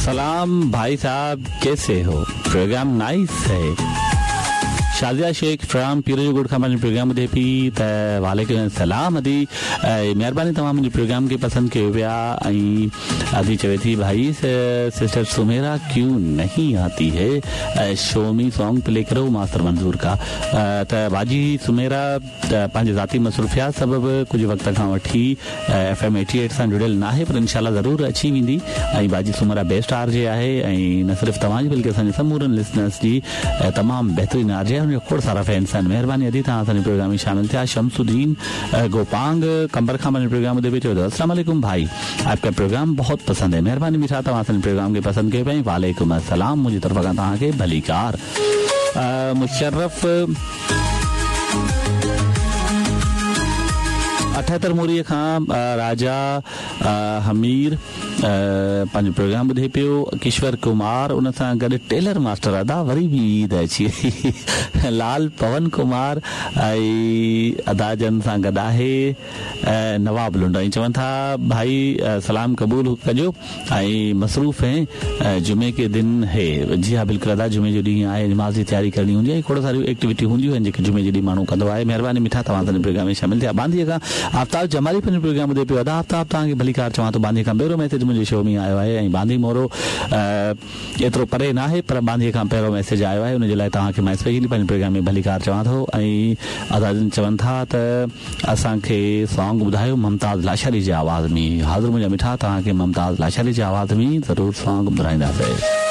سلام ڀائي صاحب ڪيسي هو پروگرام نائيس هي شازيا شيخ فرام پير جو ڳوٺ کان پنهنجو پروگرام ٻڌي پي ته وعليڪم السلام ادي مهرباني توهان منهنجي پروگرام کي پسند ڪيو پيا ۽ ادي چوي ٿي ڀائي سسٽر سميرا ڪيون نهين آتي هي شو مي سانگ پلي ڪرو ماستر منظور ڪا ته باجي سميرا پنهنجي ذاتي مصروفيات سبب ڪجهه وقت کان وٺي ايف ايم ايٽي ايٽ سان جڙيل ناهي پر انشاء الله ضرور اچي ويندي ۽ باجي سميرا بيسٽ آر جي آهي ۽ نه صرف توهان جي بلڪه اسان جي سمورن لسنرس جي تمام بهترين آر جي آهي ان جا کوڙ سارا فينس آهن مهرباني ادي توهان اسان جي پروگرام ۾ شامل ٿيا شمس الدين گوپانگ قمبر کان پنهنجو پروگرام ٻڌي پيو چوي ٿو السلام عليڪم ڀائي آپ ڪا پروگرام بهت پسند هي مهرباني مٺا توهان اسان جي پروگرام کي پسند ڪيو پيا وعليڪم السلام منهنجي طرف کان توهان کي ڀليڪار مشرف اٺهتر موريء کان راجا حمير پنهنجو پروگرام ٻڌي پيو ڪشور ڪمار ان سان گڏ ٽيلر ماسٽر ادا وري به عيد اچي وئي لال پون ڪمار ۽ ادا جن سان گڏ آهي نواب لنڊ ۽ چون ٿا ڀائي سلام قبول ڪجو ۽ مصروف هين جمعي ڪي دن هي جي ها بلڪل ادا جمعي جو ڏينهن آهي نماز جي تياري ڪرڻي هوندي آهي کوڙ ساريون ايڪٽيوٽيون هونديون آهن جيڪي جمعي جي ڏينهن ماڻهو ڪندو آهي مهرباني مٺا توهان اسان جي پروگرام ۾ شامل ٿيا ٻانڌيء کان آفتاب جمالي پنهنجو پروگرام ٻڌي پيو ادا آفتاب توهان کي ڀليڪار چوان ٿو ٻانڌيء کان پهريون ميسيج منهنجي شو ۾ آيو آهي ۽ ٻانڌي مورو ايترو پري ناهي پر ٻانڌيء کان پهريون ميسيج آيو آهي ان جي لاء توهان کي مان اسپيشلي پنهنجي پروگرام ۾ ڀليڪار چوان ٿو ۽ ادا جن چون ٿا ته اسان کي سانگ ٻڌايو ممتاز لاشاري جي آواز ۾ حاضر منهنجا مٺا توهان کي ممتاز لاشاري جي آواز ۾ ضرور سانگ ٻڌرائينداسين.